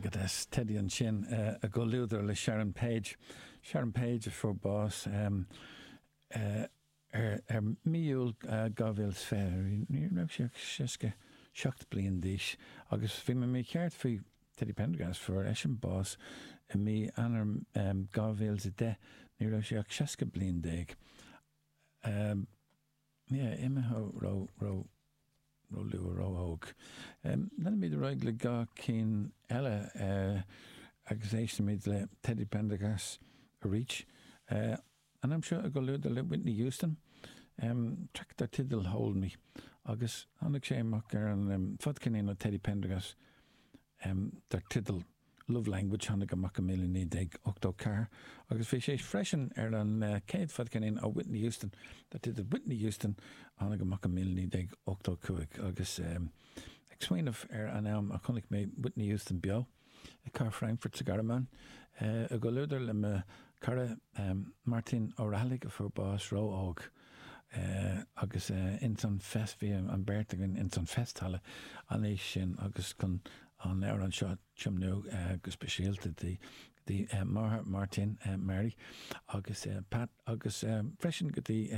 Go deas. Teddy ansin i gcomhluadar le Sharon Page. Sharon Page a fuair bás ar mí Iúil 2020. Ní raibh sí ach 67 bliain d'aois agus bhí mé mícheart faoi Teddy Pendergrass. Fuair eisean bás i mí Eanáir 2010. Ní raibh sé ach 60 bliain déag. Yeah, imithe ró, ró, ró luath, ró óg. Leanfaimid ar aghaidh le dhá cinn eile agus éistfimid le Teddy Pendergrass arís. An am seo i gcomhluadar le Whitney Houston, traic dar teideal Hold Me agus tháinig sé amach ar an fadcheirnín ó Teddy Pendergrass dar teideal Love Language, tháinig amach i 1984 agus bhí sé freisin ar an chéad fadcheirnín ó Whitney Houston dar teideal Whitney Houston, tháinig amach i 1985 agus ag smaoineamh ar an am a chonaic mé Whitney Houston beo i Cathair Frankfurt sa Ghearmáin i gcomhluadar le mo chara Martin Ó Raghallaigh a fuair bás ró-óg agus ins an Fest bhí an bheirt againn ins an Festhalle an oíche sin agus chun an amhrán seo tiomnú go speisialta do mháthair Martin, Mary, agus Pat agus freisin go dtí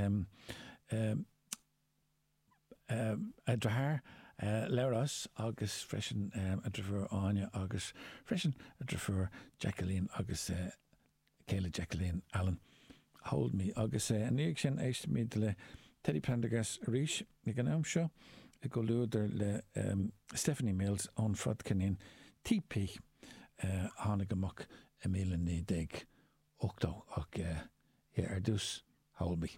a deartháir Labhrás agus freisin a deirfiúr Áine agus freisin a deirfiúr Jacqueline agus céile Jacqueline, Alan. Hold Me. Agus ina dhiaidh sin éistfimid le Teddy Pendergrass arís, ag an am seo i gcomhluadar le Stephanie Mills ón fadcheirnín TP a tháinig amach i 1980 ach yeah, ar dtús Hold Me.